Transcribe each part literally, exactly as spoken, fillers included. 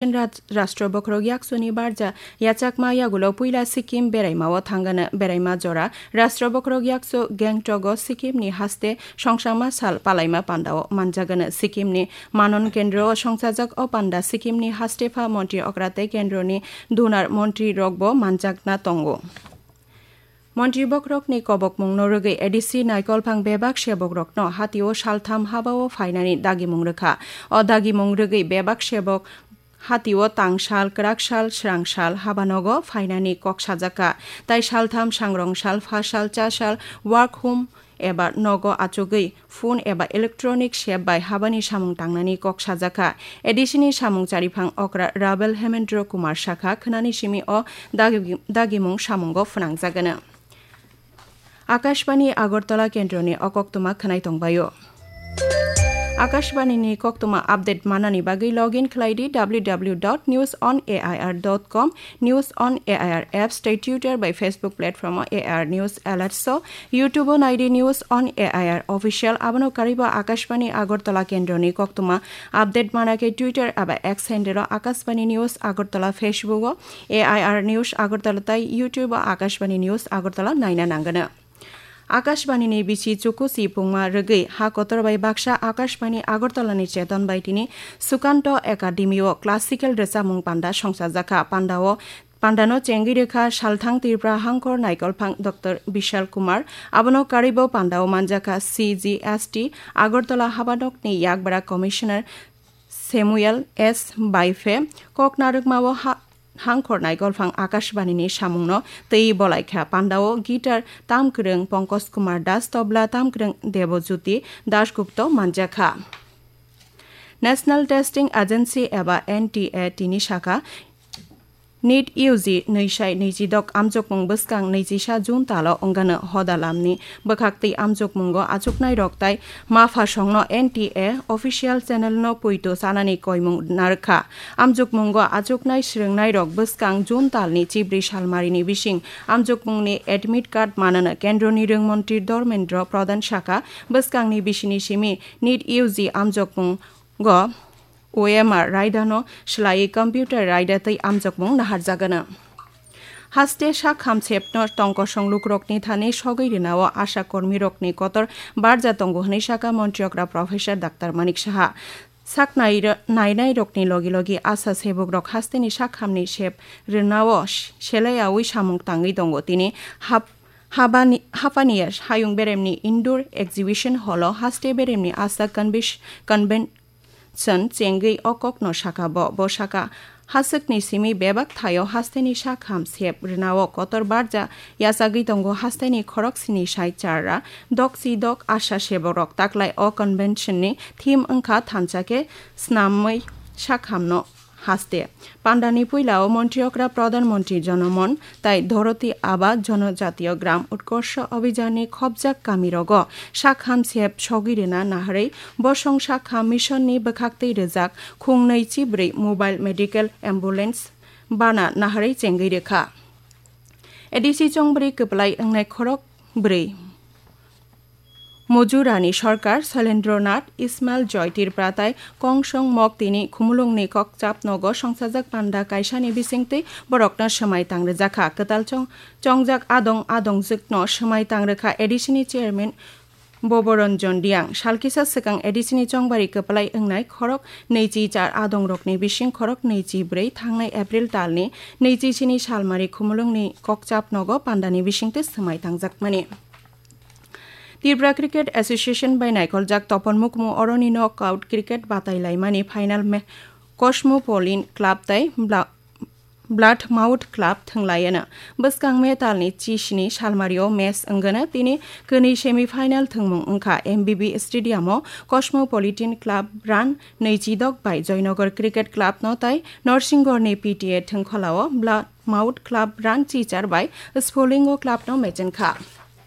Raj-, Rashtra Bokhorok Yaksoni barja yachakma yagulo puila Sikkim beraimao thangana beraima jora Rashtra Bokhorok Yakso Gangtok-o Sikkim ni haste songsangma sal palaima pandao manjagana. Sikkim ni Manon Kendro o songsajak o panda Sikkim ni haste pha montri okra tei kendro ni dunar montri rokbo manjakna tongo. Montri bokhorokni kobokmungno rwgwi A D C Naikolphang bebak sebokrokno hatio saltham habao phainani dagimung rwkha. O dagimung rwgwi bebak sebok hatio tangsal, kwraksal, swrangsal habanogo phainani kok sajakha. Tai saltham sangrongsal, phasal, chasal, work home eba nogo achugwi phone eba electronic sep bai habani samung tangnani kok sajakha. A D C ni samung chariphang okra Rabel Hemendra Kumar sakha, khwnani simi o dagi-, dagimung samungo phwnangjagano. Akashbani Agartala kendroni o koktwma khwnai tongbaio. Akashbani ni koktwma update manani bagwi login khlai di W W W dot news on A I R dot com, News on A I R apps tei Twitter bai Facebook platform o A I R News Alerts o, YouTube o nai di News on A I R Official. Abono karwi bo Akashbani Agartala kendroni koktwma update mana khe Twitter aba X handle o Akashbani News Agartala, Facebook o A I R News Agartala tei YouTube o Akashbani News Agartala naina nangano. Akashbani ni bisi chukusi pungma rwgwi ha kotor bai baksa Akashbani Agartala ni cheton bai tini Sukanto Academy o classical rwchapmung panda songchajakha. Pandao, pandano chengwi rwkha Salthang Tripura Hangkhor Naikolphang Doctor Bishal Kumar. Abono karwi bo pandao manjakha C G S T Agartala Habanokni Yakbara Commissioner Samuel S Baife. Koknarwkmao ha-, Hangkhor Naikolphang Akashbani ni samungno twi bolaikha. Pandao guitar tamkwrwng Pankaj Kumar Das, tobla tamkwrwng Debojyoti Dasgupta manjakha. National Testing Agency eba N T A tini sakha, NEET U G nwi sai nwi chi dok amjokmung bwskang nwi chi sa June talo wngano hoda lamni bwkhaktwi amjokmungo achuknairok tai maphasongno N T A official channel no poito chanani koimung narwkha. Amjokmungo achuknai swrwngnairok bwskang June talni chibri salmarini bising amjokmungni admit card manano kendroni rwngmontri Dharmendra Pradhan sakha, bwskangni bisini simi NEET U G amjokmungo O M R raidano swlaiwi computer raida twi amjokmung naharjagano. Haste sak hamsepno tongkosong lukrokni thani sogwi rwnao asha kormirokni kotor barja tongo hwnwi sakha Montri okra Professor Doctor Manik Saha. Sak nai-, nainairokni logi logi asha sebukrok hasteni sak hamni sep rwnao s-, selaiyaui samung tangwi tongo. Tini hap-, habani, hapani hayung beremni indoor exhibition hall o haste beremni asha convis-, conven-, Chwng chengwi o kokno sakha bo. Bo sakha, haswkni simi bebak thaio hasteni sak ham sep rwnao kotor barja yachagwi tongo hasteni khorok sini sai char ra, dok si dok asha seborok taklai o convention ni theme wngkha thansa khe snamwi sak hamno haste. Pandani puilao Montri okra Pradhan Montri Jonomon tai Dorothy Aba Jonojatiyo Gram Utkorsho Abhijanni khopjak kamirogo sakham sep sogwi rwna naharwi bosong sakham missionni bwkhaktwi rwjak khungnwi chibrwi mobile medical ambulance bana naharwi chengwi rwkha. A D C chongbrwi kwplai wngnai khorok brwi. Mojurani sorkar Sailendra Nath, Ismail Joy Tripura tai Kongsong Mok tini Khumulwngni kokchap nogo songsajak panda kaisani bisingtwi borokno swmai tangrijakha. Kwtal chong-, chongjak adong adongjwkno swmai tangrwkha A D C ni chairman Boboranjan Reang. Salkisa swkang A D C ni chongbari kwplai wngnai khorok nwichi char adongrokni bising khorok nwichi brwi thangnai April talni nwichi sini salmari Khumulwngni kokchap nogo pandani bisingtwi swmai tangjakmani. Tripura Cricket Association bai naikoljak topon mukmu oroni knockout cricket batai laimani final ma-, Cosmopolitan Club tai Bla-, Bloodmouth Club thwnglaiyano. Bwskang May talni chisni salmario match wngano tini kwnwi semi final thwngmung wngkha M B B Stadium o Cosmopolitan Club run nwichi dok bai Joynagar Cricket Club no tai Norsingorni P T A thwngkholao Blood mouth club rang chichar bai Spolingo club no mechenka.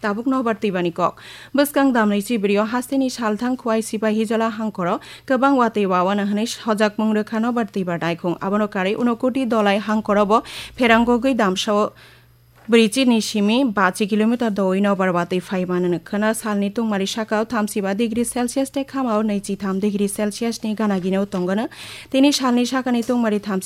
Tabuk nobar twibani kok. Bwskang damnwi chibrio hasteni salthang Khwai Sipahijola hangkoro kwbang watwi wawana hwnwi sojakmung rwkha nobar twibar naikhung. Abono karwi Unokoti Dolai hangkoro bo pherangogwi damsao brichini simi bachi kilometer dowi nobar watwi phaimanano khwna. Salni tungmari sakao thamsiba degree Celsius tei khamao nwichitham degree Celsius ni gana ginao tongano. Tini salni sakani tungmari thamsi